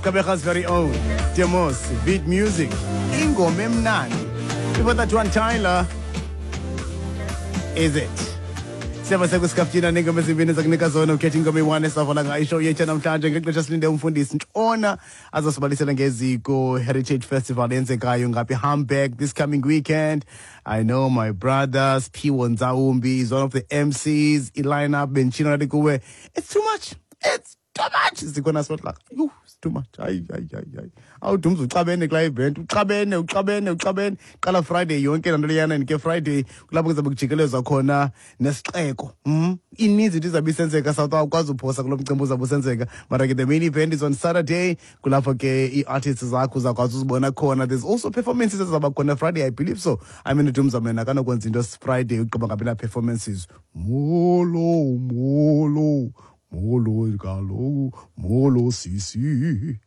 Gqeberha's very own Demos Beat Music, ingoma emnandi. Before that one, Tyler, Is It. Siyaba sekusikaftina neengoma ezimbini zakunika zona ukhetha ingoma eyi-one esavala ngayo ishow yethu namhlanje ngexesha silinde umfundisi Ntshona azosibalisela ngeziko Heritage Festival eyenzekayo ngapha eHamburg this coming weekend. I know my brother Siphiwo Nzawumbi is one of the MCs. I-lineup benditshilo nathi kuwe, it's too much, it's too much. Sikhona sibathi, yhu, it's too much. Hayi, hayi, hayi, hayi, awudumza uxabene kulaa event, uxabene, uxabene, uxabene. Qala Friday yonke laa nto leyana, and ke Friday kulapho kuzabe kujikelezwa khona nesixeko. Ininzi into izabe isenzeka, South, awukwazi uphosa kulo mcimbi uzabe usenzeka. Mara ke the main event is on Saturday, kulapho ke ii-artists zakho uzakwazi uzibona khona. There's also performances ezizawuba khona Friday, I believe so. I mean, udumza mna akanokwenza into Friday ugqiba ngabi na-performances. Molo, molo, molo kaloku, molo sisi.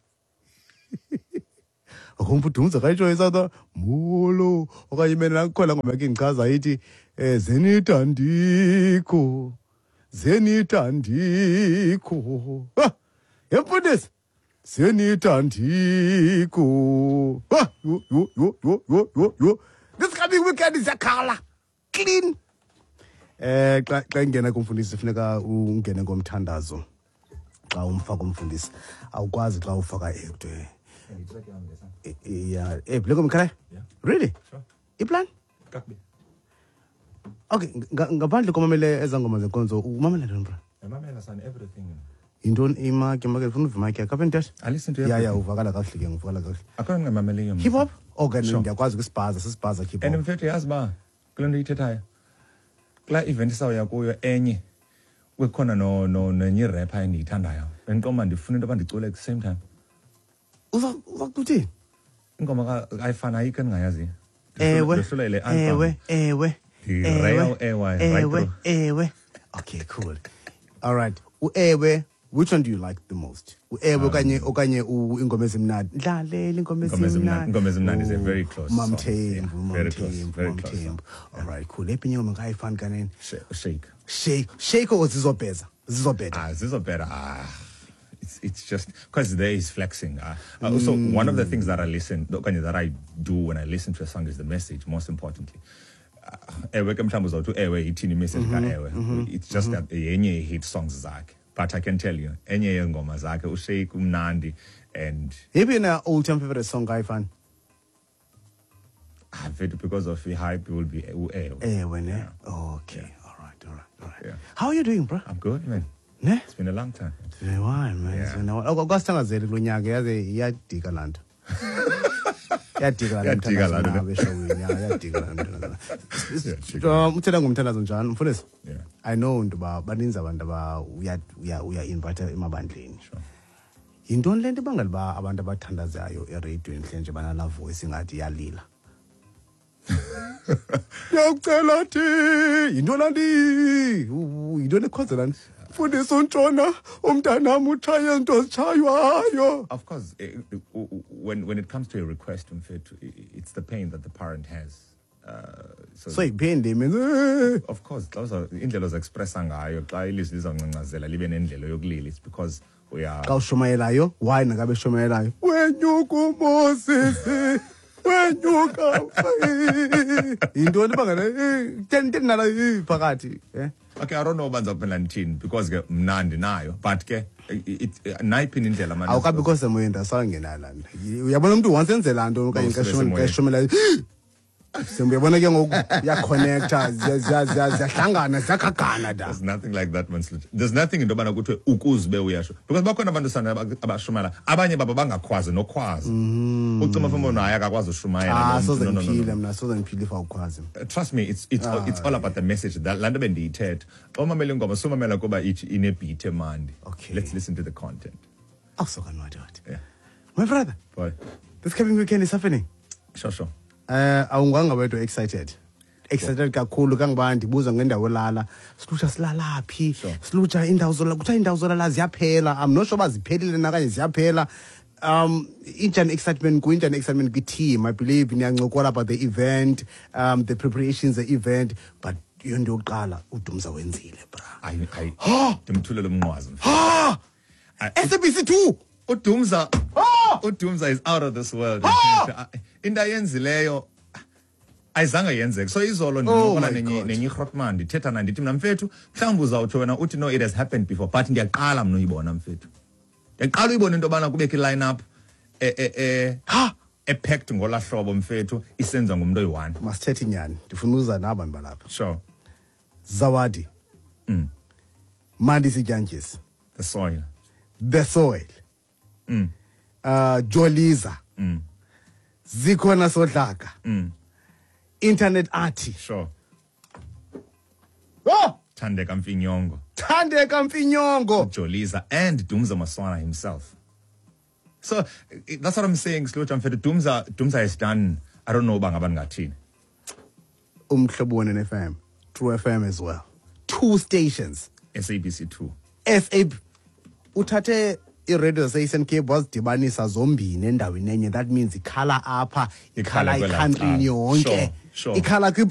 Akumva udumza kayitsho isatha molo okanye imene nakukhona ngoma yakhe indichaza ithi zenithandikho, zenithandikho. Ha! Yemfundisi, zenithandikho. Ha! Yho, yho, yho, yho, yho, yho, yho. This coming weekend ziyakhala clean. Xa ingena kumfundisi funeka ungene ngomthandazo. Xa umfaka umfundisi awukwazi xa ufaka ekuthiwe yeah, le ngoma ikhala? Yeah. Really? Sure. Iplan? Kakubi. Okay, ngaphandle komamele ezaa ngoma zenkonzo, umamela ntoni, bra? Ndimamela sana everything. Yintoni imaki, imaki, ndifuna uva imaki yakho. Apha entetha? I listen to Yeah, everything. uvakala kakuhle ke, uvakala kakuhle. Akho ndingamameliyo mna. Hip hop? Okay, Sure. ndiyakwazi kwisibhaza, sisibhaza hip hop. And mfethu, yazi uba kule nto uyithethayo, kulaa event isawuya kuyo enye, kukhona nenye irapper endiyithandayo. Bendiqonda uba ndifuna into yoba ndicule at the same time. Uza kuthini? Ingoma ayifani, ayikho endingayaziyo. Ewe. Ndohlula le album. Ewe, ewe. Ndi-rail Ewe, ewe, right ewe, through. ewe. Okay, cool. All right. Uewe, which one do you like the most? Uewe okanye ingoma ezimnandi. Dlalela ingoma Ingoma ezimnandi. ezimnandi. Ingoma ezimnandi is a very close song. Mamthembu, Yeah, very close, Mamthembu, very close Mamthembu. song. All right, cool. Ephi ingoma ngayifani kanene? Shake. Shake. Shake or zizobheza? Zizobheda. Zizobheda. It's just because there is flexing. So one of the things that I listen, okanye that I do when I listen to a song is the message, most importantly. Ewe ke mhlawumbi uzawuthi ewe ithini imessage ka ewe. It's just that yenye hit songs zakhe. But I can tell you, enye yeengoma zakhe, uShake umnandi and Yiphi yena all time favorite song kayifani? Mfethu, because of the hype will be uewe. Ewe ne? Yeah. Okay. Yeah. All right, all right, all right. Yeah. How are you doing, bro? I'm good, man. Ne? It's been a long time. It's been a while, man. It's Yeah. been a while. Akwasithangazeli kulo nyaka, yaze iyadika laa nto. Iyadika laa nto, Iyadika laa nto, mthandazo ne? nawe eshowini. Yeah, iyadika laa nto. Iyadika. Uthetha ngomthandazo njani, mfundisi? Yeah. I know into uba baninzi abantu aba uya invite emabandleni. Sure. Yintoni le nto ibangela uba abantu abathandazayo ereyidweni hle nje banalaa voice ingathi iyalila? Ndiyakucela thi, yintoni laa nto? Yintoni ekhozela nto? Mfundisi uNtshona, umntanam utshaye izinto zitshaywayo. Of course, when it comes to a request, mfethu, it's the pain that the parent has. So, So yipain le imenza, Of course, xa indlela oza-expressa ngayo, xa ilizwi lizawungcangcazela libe nendlela yokulila, it's because we are... Xa ushumayelayo, why nangabe eshumayelayo? Wenyuka uMoses, wenyuka. Yintoni ibangela, ten nala, phakathi, eh? Okay, I don't know uba ndizawuphendula ndithini because ke mna ndinayo, but ke nayiphi indlela manje? Awukabikho semoyeni, ndasawungena laa nto. Uyabona umntu once enze laa nto okanye Bawusebe semoyeni. xa eshumela, uyabona ke ngoku iyaconnecta, ziyahlangana, ziyagagana da. There's nothing like that, man. There's nothing into yobana kuthiwe ukuze ube uyasho. Because bakhona abantu sana abashumela, abanye babo bangakhwazi nokhwazi. Ucima mfo naye akakwazi ushumayela. Lo mntu. Soze No, no, no, no, ndiphile no. mna, soze ndiphile if awukhwazi. Trust me, it's all about the message. That laa nto bendiyithetha. Xa umamela ingoma, sumamela kuba ithi inebeat emandi. Okay. Let's listen to the content. Awusoka madoda. Yeah. My brother, Boy. this coming weekend is happening. Sure. Awunganga wedwa excited. Excited kakhulu kangoba ndibuza ngendawo elala. Silutsha silala phi? Sure. Silutsha indawo zolala, kuthiwa indawo zolala ziyaphela. I'm not sure uba ziphelile na okanye ziyaphela. Injani excitement ku, injani excitement kwi-team? I believe niyancokola about the event, the preparations, the event, but yonto yokuqala uDumza wenzile, bra. Ayi, ndimthulele umnqwazi, mfethu. Ha! Ayi, SABC 2. uDumza. Ah! UDumza is out of this world. Into ayenzileyo ayizange yenzeke. So izolo ndincokola Oh my nenye God. nenye igrotman, ndithetha naye, ndithi mna, mfethu, mhlawumbi uzawutsho wena uthi no, it has happened before, but ndiyaqala mna uyibona, mfethu, ndiyaqala uyibona into yobana kubekho i-line up Ha! epacked ngolaa hlobo, mfethu, isenziwa ngumntu oyi-one. Masithethe inyani, ndifuna uza naba bantu balapha. Zawadi, Mandisi Dyantyis, The Soil, The Soil, Joliza, Zikhona Sodlaka, Internet Arty, oh Thandeka Mfinyongo, Thandeka Mfinyongo, Joliza, and Dumza Maswana himself. So that's what I'm saying, Slucha mfethu. Dumza has done, I don't know uba ngaba ndingathini. Umhlobo Wenene FM, True FM as well, two stations. SABC 2. SAB uthathe iradio zase-Eastern Cape wazidibanisa zombini endaweni enye. That means ikhala apha, ikhala Ikhala kwelaa icountryni cala. yonke, Sure. ikhala kwi